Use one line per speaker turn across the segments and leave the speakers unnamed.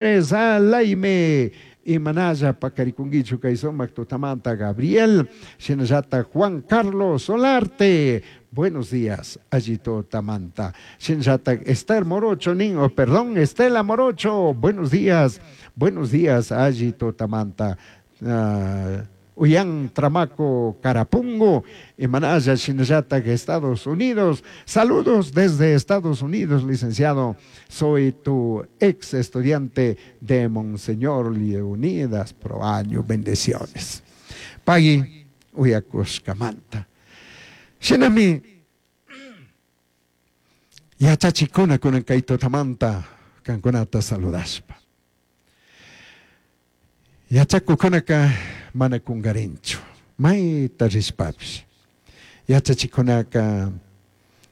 Alaime imanalla paqarikunkichu kay sumaq tutamanta Gabriel, shinallata Juan Carlos Solarte, buenos días, alli tutamanta, shinallata Esther Morocho nin, oh, perdón, Estela Morocho, buenos días, alli tutamanta. Uyan Tramaco Carapungo, Imanaya shinallata Estados Unidos. Saludos desde Estados Unidos, licenciado. Soy tu ex estudiante de Monseñor Leonidas Proaño. Bendiciones. Pagui uyakushkamanta. Shinami yachachikuna kunan kay tutamanta kankunata saludashpa. Yachakukunaka mana kungarinchu, mayta rishpapish. Yachachikunaka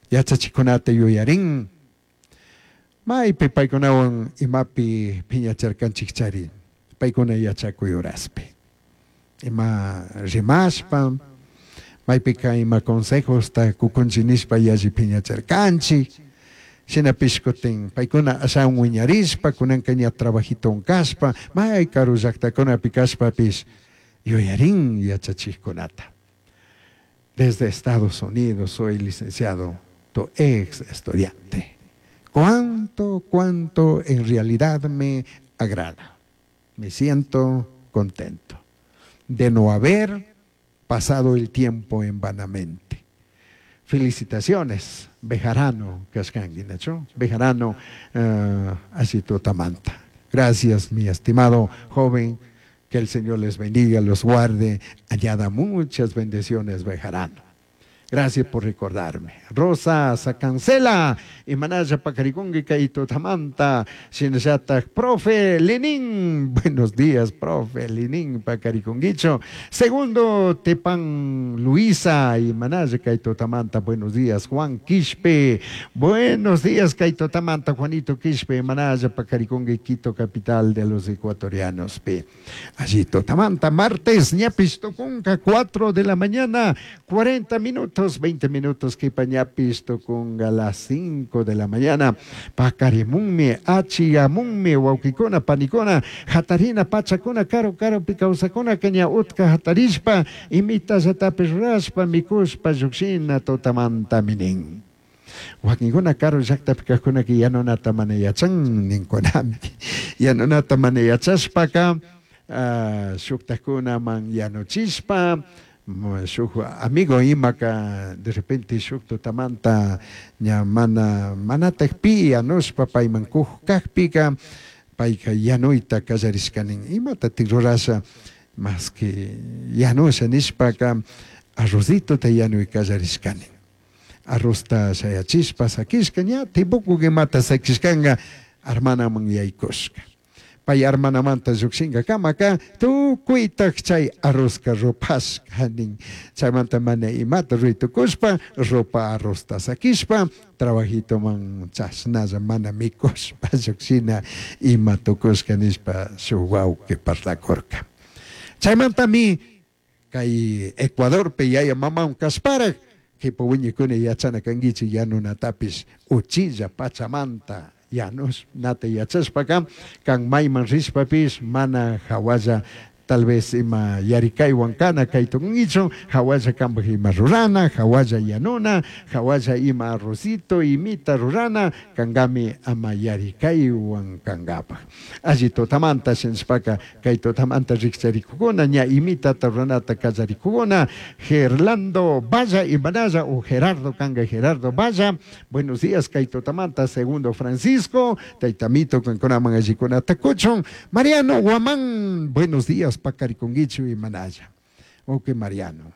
yachachikunata yuyarin, maypi paykunawan imapi piñacharkanchikchari, paykuna yachakuy horaspi. Ima rimashpa, maypika ima consejosta kukunchik nishpa yalli piñacharkanchik. Shinapish kutin paykuna ashawan wiñarishpa, kunanka ña trabajitowan kashpa, may karu llaktakunapi kashpapish yuyarin yachachikkunata. Desde Estados Unidos soy licenciado, tu ex estudiante. ¿Cuánto, cuánto en realidad me agrada? Me siento contento de no haber pasado el tiempo en vanamente. Felicitaciones, Bejarano, kashkanki, nachu? Bejarano, alli tutamanta. Gracias, mi estimado joven, que el Señor les bendiga, los guarde, añada muchas bendiciones, Bejarano. Gracias por recordarme. Rosa Sacancela, Imanaya Pacarigungi Kaito Tamanta, Shinashata, profe Lenín. Buenos días, profe Lenín Pacarigunguicho. Segundo, Tepan Luisa, Imanaya Kaito Tamanta. Buenos días, Juan Quispe. Buenos días, Kaito Tamanta, Juanito Quispe, Imanaya Pacarigungi, Quito, capital de los ecuatorianos. P. Allí Tamanta, martes, ñapis tucunga, 4 de la mañana, 40 minutos. 20 minutos que ñapis tucunga a las 5 de la mañana. Pacarimunmi, achiyamunmi, wawkikuna, panikuna, hatarina, pachakuna, karu, karupi kawsakuna, caña utka hatarishpa, imitallatapish rurashpa, mikushpa, llukshina, tutamanta minin. Wakinkuna karu llaktapi kajkunaka yanunata mana yachan ninkunami. Yanunata mana yachashpaka, shuktakunaman yanuchishpa, shuk amigo imaka de repente shuk tutamanta ña mana manatak pi yanushpa payman kuj kajpika payka yanuyta kallarishkanin imatatik rurasha más que yanusha nishpaka arrozitota yanuy kallarishkanin arrozta shayachishpa sakishka ña tibuku imata sakishkanga armanaman yaykushka pay armanamanta llukshinka kamaka tukuytak chay arrozka rupashka nin chaymanta mana imata ruytukushpa ropa arrozta sakishpa trabajitoman chashnalla mana mikushpa llukshina ima tukushka nishpa shuk wawki parlakurka chaymantami kay Ecuadorpi yaya mamawan kashparak kipa wiñaykuna yachana kankichik yanunatapish uchilla pachamanta yanunata yachashpaka kan mayman rishpapish mana hawalla tal vez ima yarikaywan kana kay tukunkichu hawalla kanpak ima rurana hawalla yanuna hawalla ima arrocito imita rurana kankami ama yarikaywan kankapak alli tutamanta shinashpaka kay tutamanta rikcharikukuna ña imitata ruranata kallarikukuna Gerlando Valla Imanaya o Gerardo kanga Gerardo Valla buenos días kay tutamanta segundo Francisco taytamito kankunaman allikunata kuchun Mariano Guamán buenos días Pacariconguichu y Manaya. Ok, Mariano.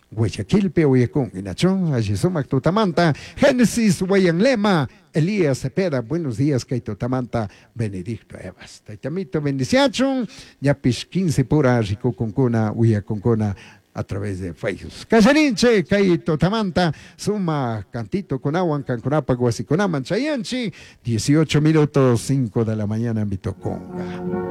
Guayaquilpi uyakun, nachón, allí sumak tutamanta, Génesis Lema, Elías Cepeda, buenos días, kay tutamanta, Benedicto Evas. Taytamito bendiciachun, ñapish 15 pura rikukunkuna, uyakunkuna, a través de Facebook. Kallarinche, kay tutamanta, suma cantito kunawan, kankunapa wasikunaman chayanchi, 18 minutos, 5 de la mañana, mitoconga.